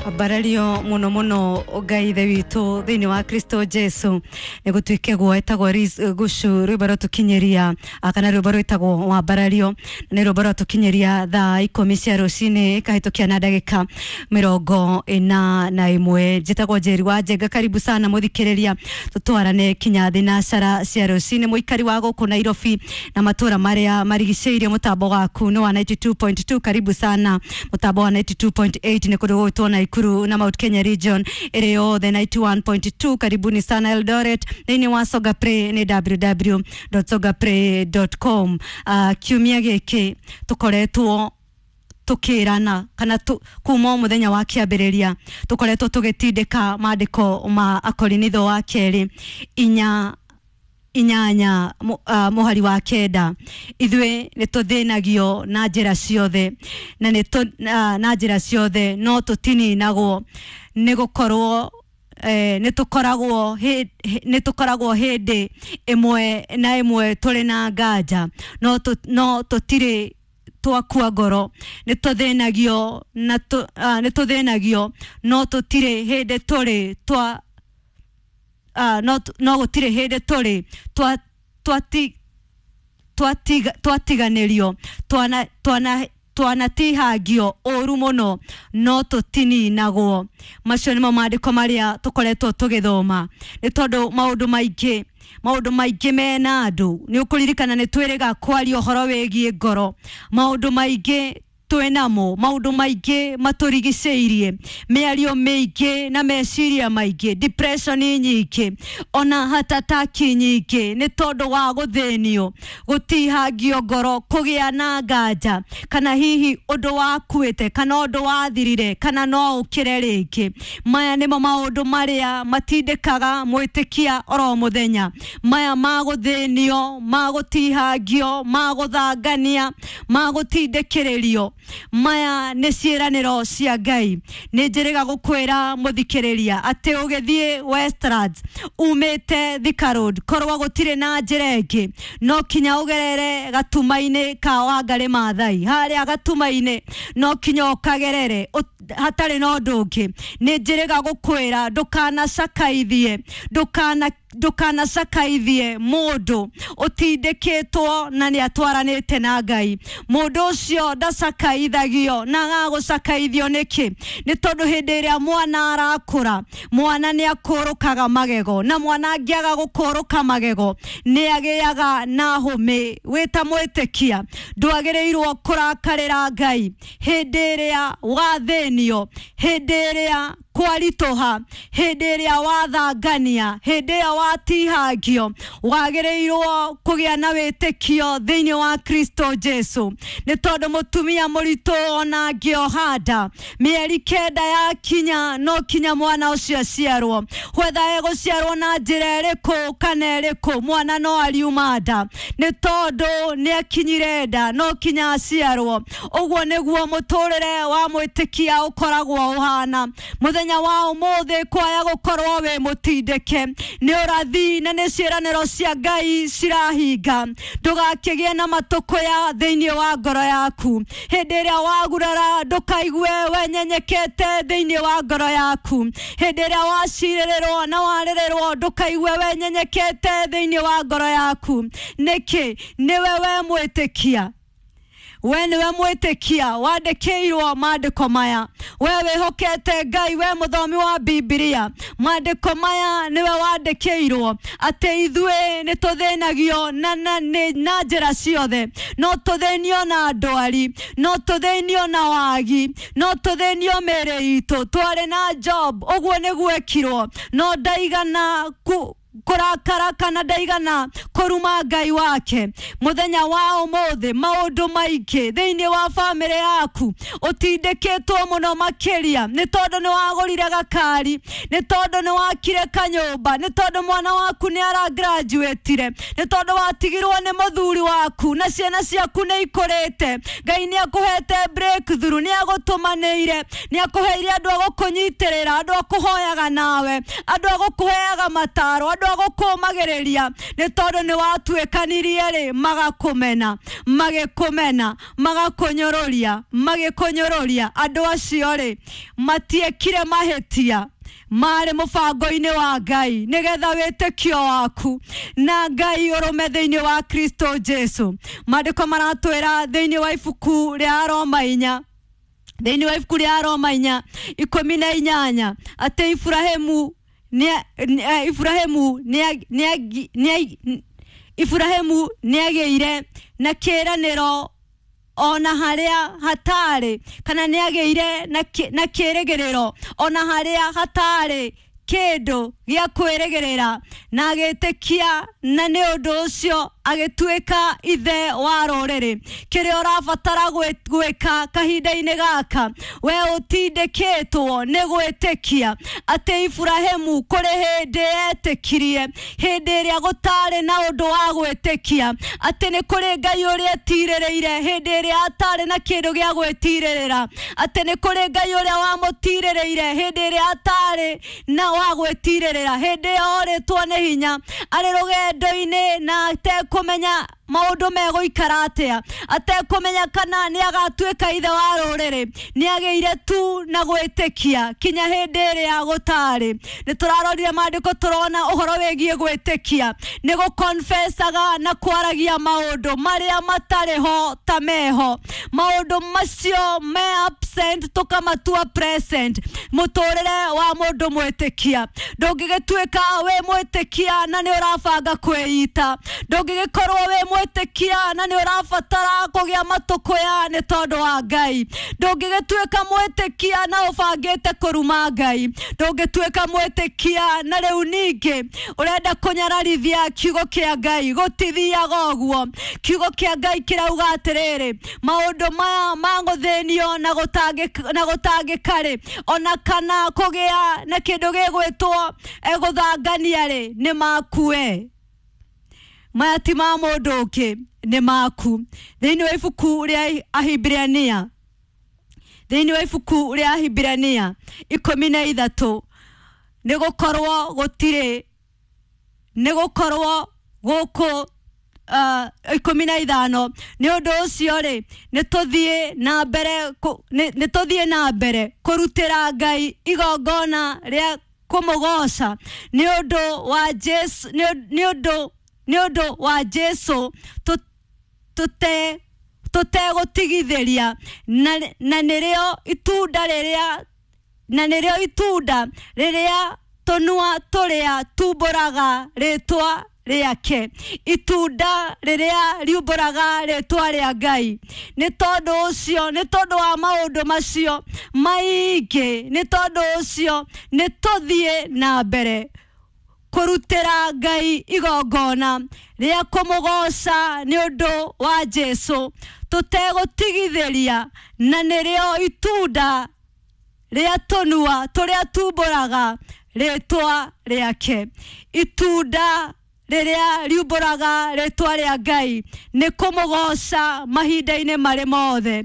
Ambarario muno muno Ngai ithe witũ thĩinĩ wa Kristo Jesu nĩ gũtuĩke guo etagwo Liz Gucu rwĩmbo rwatũkinyĩria kana rwĩmbo rwĩtagwo wambarario nĩ rwĩmbo rwatũkinyĩria thaa 10 cia rũcinĩ ĩkahĩtũkia na ndagĩka 41. Njĩtagwo Njeri wa Njenga, karibu sana mũthikĩrĩria, tũtwarane kinya thinacara cia rũcinĩ. Mũikari wa gũkũ Nairobi na matũra marĩa marigicĩirie, mũtambo waku nĩ wa 92.2, karibu sana. Mũtambo wa 92.8 nĩ kũndũ gũgwĩtwo Naikuru na Mount Kenya region ĩrĩ yothe 91.2, karibuni sana Eldoret. Thĩinĩ wa Songa Play nĩ www.songaplay.com. Kiumia gĩkĩ tũkoretwo tukirana kana kuma o muthenya wa kiambiriria tukoretwo tugitindika maandiko ma Akorinitho wa kerĩ inya inyanya mũhari wa 9. Ithuĩ nĩ tũthĩnagio na njĩra ciothe na nĩ na njĩra ciothe no tũtininagwo, nĩ gũkorwo nĩ tũkoragwo hĩndĩ ĩmwe na ĩmwe tũrĩ na nganja, no tũtirĩ twakua ngoro. Nĩ tũthĩnagio na nĩ tũthĩnagio no tũtirĩ hĩndĩ tũrĩ twa no gũtirĩ hĩndĩ tũrĩ twatiganĩrio, twanatihangio ũru mũno no tũtininagwo. Macio nĩmo maandĩko marĩa tũkoretwo tũgĩthoma, nĩ tondũ maũndũ maingĩ mena andũ. Nĩ ũkũririkana nĩ twĩrĩga kwaria ũhoro wĩgiĩ ngoro, maũndũ maingĩ twĩnamo, maũndũ maingĩ matũrigicĩirie, mĩario mĩingĩ na meciria maingĩ, depression nyingĩ, ona hatataki nyingĩ, nĩ tondũ wa gũthĩnio, gũtihangio ngoro, kũgĩa na nganja, kana hihi ũndũ wakuĩte kana ũndũ wathirire kana no ũkĩre rĩngĩ. Maya nĩmo maũndũ marĩa matindĩkaga mwĩtĩkia oro mũthenya, maya ma gũthĩnio, ma gũtihangio, ma gũthangania, ma gũtindĩkĩrĩrio. Maya nĩ ciĩranĩro cia Ngai. Nĩ njĩrĩga gũkwĩra mũthikĩrĩria atĩ ũgĩthiĩ Westlands umĩte Thika Road, korwo gũtirĩ na njĩra ĩngĩ no kinya ũgerere gatuma-inĩ ka Wangarĩ Maathai, harĩa gatuma-inĩ no kinya ũkagerere hatarĩ na ũndũ ũngĩ. Nĩ njĩrĩga gũkwĩra ndũkanacakaithie, ndũkanacakaithie mũndũ ũtindĩkĩtwo na nĩ atwaranĩte na Ngai. Mũndũ ũcio ndacakaithagio, na agagũcakaithio nĩkĩ? Nĩ tondũ hĩndĩ ĩrĩa mwana arakũra, mwana nĩ akũrũkaga magego, na mwana angĩaga gũkũrũka magego nĩ agĩaga na hũmĩ. Wĩta mwĩtĩkia ndwagĩrĩirwo kũrakarĩra Ngai hĩndĩ ĩrĩa wathĩnio, hĩndĩ ĩrĩa kwaritũha, hĩndĩ ĩrĩa wathangania, hĩndĩ ĩrĩa watihangio. Wagĩrĩirwo kũgĩa na wĩtĩkio thĩinĩ wa Kristo Jesu, nĩ tondũ mũtumia mũritũ ona angĩoha nda mĩeri 9 yakinya no kinya mwana ũcio aciarwo, whether egũciarwo na njĩra ĩrĩkũ kana ĩrĩkũ, mwana no ariuma nda, nĩ tondũ nĩ akinyire nda no kinya aciarwo. Ũguo nĩguo mũtũrĩre wa mwĩtĩkia ũkoragwo ũhana. Mũthenya wa ũmũthĩ kwaya gũkorwo wĩ mũtindĩke nĩ ũrathi na nĩ ciĩranĩro cia Ngai cirahinga. Ndũgakĩgĩe na matũkũya thĩinĩ wa ngoro yaku. Hĩndĩ ĩrĩa wagurara ndũkaigue wenyenyekete thĩinĩ wa ngoro yaku. Hĩndĩ ĩrĩa wacirĩrĩrwo na warĩrĩrwo ndũkaigue wenyenyekete thĩinĩ wa ngoro yaku. Nĩkĩ? Nĩwe we mwĩtĩkia, we nĩwe mwĩtĩkia wandĩkĩirwo maandĩko maya, we wĩhokete Ngai, we mũthomi wa Bibilia, maandĩko maya nĩwe wandĩkĩirwo atĩ ithuĩ nĩ tũthĩnagio na njĩra ciothe, no tũthĩnio na ndwari, no tũthĩnio na wagi, no tũthĩnio mĩĩrĩ itũ. Twarĩ na Job, ũguo nĩguo ekirwo, no ndaigana kũrakara kana ndaigana kũruma Ngai wake. Mũthenya wa ũmũthĩ maũndũ maingĩ thĩinĩ wa bamĩrĩ yaku ũtindĩkĩtwo mũno makĩria, nĩ tondũ nĩ wagũrire gakari, nĩ tondũ nĩ wakire kanyũmba, nĩ tondũ mwana waku nĩ aragraduatire, nĩ tondũ watigirwo nĩ mũthuri waku na ciana ciaku nĩ ikũrĩte. Ngai nĩ akũhete breakthrough, nĩ agũtũmanĩire, nĩ akũheire andũ a gũkũnyitĩrĩra, andũ a kũhoyaga nawe, andũ a gũkũheaga mataro, andũ Andũ a gũkũmagĩrĩria nĩ tondũ nĩ watuĩkanirie rĩ, magakũmena, magĩkũmena, magakũnyũrũria, magĩkũnyũrũria. Andũ acio rĩ, matiekire mahĩtia, marĩ mũbango-inĩ wa Ngai nĩgetha wĩtĩkio waku na Ngai ũrũme thĩinĩ wa Kristo Jesu. Maandĩko maratwĩra thĩinĩ wa ibuku rĩa Roma 4, thĩinĩ wa ibuku rĩa Roma 4:18 atĩ Iburahĩmu Iburahĩmu nĩagĩire na kĩĩranĩro ona harĩa hatarĩ, kana nĩagĩire na kĩĩrĩgĩrĩro ona harĩa hatarĩ kĩndũ gĩa kwĩrĩgĩrĩra, na agĩtĩkia, na nĩ ũndũ ũcio agĩtuĩka ithe wa rũrĩrĩ. Kĩrĩa ũrabatara gwĩka kahinda-inĩ gaka, we ũtindĩkĩtwo nĩ gwĩtĩkia atĩ Iburahĩmu kũrĩ hĩndĩ etĩkirie, hĩndĩ ĩrĩa gũtarĩ na ũndũ wa gwĩtĩkia, atĩ nĩ kũrĩ Ngai ũrĩa etirĩrĩire hĩndĩ ĩrĩa atarĩ na kĩndũ gĩa gwĩtirĩrĩra, atĩ nĩ kũrĩ Ngai ũrĩa wamũtirĩrĩire hĩndĩ ĩrĩa atarĩ na wa gwĩtirĩrĩra, hĩndĩ ĩyo orĩtwo nĩ hinya, arĩ rũgendo-inĩ na atekũmenya maũndũ megũikara atĩa, atekũmenya kana nĩ agatuĩka ithe wa rũrĩrĩ, nĩ agĩire tu na gwĩtĩkia kinya hĩndĩ ĩrĩa gũtarĩ. Nĩ tũrarorire maandĩko tũrona ũhoro wĩgiĩ gwĩtĩkia nĩ gũkonfesaga na kwaragia maũndũ marĩa matarĩ ho ta meho, maũndũ macio me absent tũkamatua present. Mũtũrĩre wa mũndũ mwĩtĩkia, ndũngĩgĩtuĩka wĩ mwĩtĩkia na nĩ ũrabanga kwĩita, ndũngĩgĩkorwo wĩ mwĩtĩkia na nĩ ũrabatara kũgĩa matũkũya nĩ tondũ wa Ngai, ndũngĩgĩtuĩka mwĩtĩkia na ũbangĩte kũruma Ngai, ndũngĩtuĩka mwĩtĩkia na rĩu ningĩ ũrenda kũnyararithia kiugo kĩa Ngai. Gũtithiaga ũguo. Kiugo kĩa Ngai kĩrauga atĩrĩrĩ, maũndũ maya ma gũthĩnio na gũtangĩka rĩ, ona kana kũgĩa na kĩndũ gĩgwĩtwo gũthangania rĩ, nĩ makue. Maya ti ma mũndũ ũngĩ, nĩ maku. Thĩinĩ wa ibuku rĩa Ahibirania, thĩinĩ wa ibuku rĩa Ahibirania 13, nĩ gũkorwo gũtirĩ, nĩ gũkorwo gũkũ 15, nĩ ũndũ ũcio rĩ, nĩ tũthiĩ na mbere nĩ tũthiĩ na mbere kũrutĩra Ngai igongona rĩa kũmũgoca nĩ ũndũ wa Jesu, nĩ ũndũ wa Jesu tũtegũtigithĩria, na nĩrĩo itunda rĩrĩa, na nĩrĩo itunda rĩrĩa tũnua tũrĩa tumbũraga rĩtwa rĩake, itunda rĩrĩa riumbũraga rĩtwa rĩa Ngai. Nĩ tondũ ũcio, nĩ tondũ wa maũndũ macio maingĩ, nĩ tondũ ũcio nĩ tũthiĩ na mbere kũrutĩra Ngai igongona rĩa kũmũgoca nĩ ũndũ wa Jesu tũtegũtigithĩria, na nĩrĩo itunda rĩa tũnua tũrĩa tumbũraga rĩtwa rĩake. Itunda rĩrĩa riumbũraga rĩtwa rĩa Ngai nĩ kũmũgoca mahinda-inĩ marĩ mothe,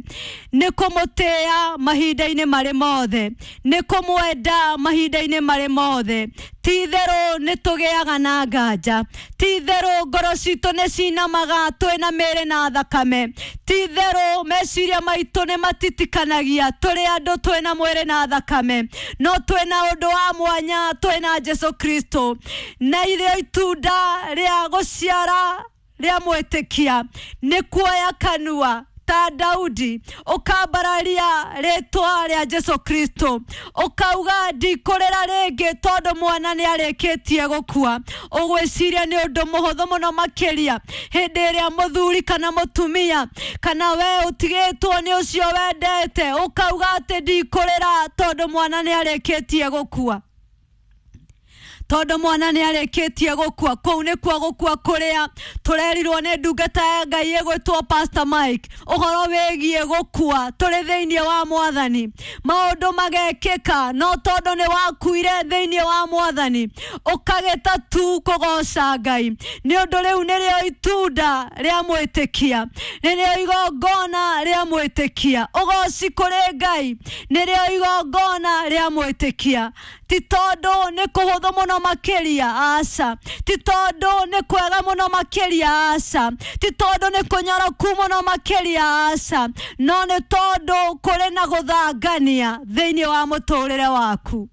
nĩ kũmũtĩĩa mahinda-inĩ marĩ mothe, nĩ kũmwenda mahinda-inĩ marĩ mothe. Ti itherũ nĩ tũgĩaga na nganja, ti itherũ ngoro citũ nĩ cinamaga twĩna mĩĩrĩ na thakame, ti itherũ meciria maitũ nĩ matitikanagia tũrĩ andũ twĩna mwĩrĩ na thakame, no twĩna ũndũ wa mwanya, twĩna Jesu Kristo. Na irĩo itunda rĩa gũciara rĩa mwĩtĩkia nĩ kuoya kanua ta Daudi, ũkambararia rĩtwa rĩa Jesu Kristo, ũkauga ndikũrĩra rĩngĩ tondũ mwana nĩ arĩkĩtie gũkua. Ũgwĩciria nĩ ũndũ mũhũthũ mũno makĩria hĩndĩ ĩrĩa mũthuri kana mũtumia kana we ũtigĩtwo nĩ ũcio wendete, ũkauga atĩ ndikũrĩra tondũ mwana nĩ arĩkĩtie gũkua, tondũ mwana nĩ arĩkĩtie gũkua. Kũu nĩkuo gũkua kũrĩa tũrerirwo nĩ ndungata ya Ngai ĩgwĩtwo Pastor Mike, ũhoro wĩgiĩ gũkua tũrĩ thĩinĩ wa Mwathani. Maũndũ magekĩka no tondũ nĩ wakuire thĩinĩ wa Mwathani, ũkagĩta tu kũgoca Ngai. Nĩ ũndũ rĩu nĩrĩo itunda rĩa mwĩtĩkia, nĩrĩo igongona rĩa mwĩtĩkia. Ũgoci kũrĩ Ngai nĩrĩo igongona rĩa mwĩtĩkia. Ti tondũ nĩ kũhũthũ mũno makĩria, aca. Ti tondũ nĩ kwega mũno makĩria, aca. Ti tondũ nĩ kũnyoroku mũno makĩria, aca. No nĩ tondũ kũrĩ na gũthangania thĩinĩ wa mũtũrĩre waku.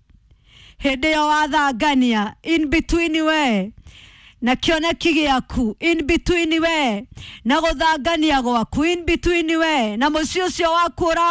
Hĩndĩ ĩyo wathangania in between we na kĩoneki gĩaku, in between we na gũthangania gwaku, in between we na mũciĩ ũcio waku ũra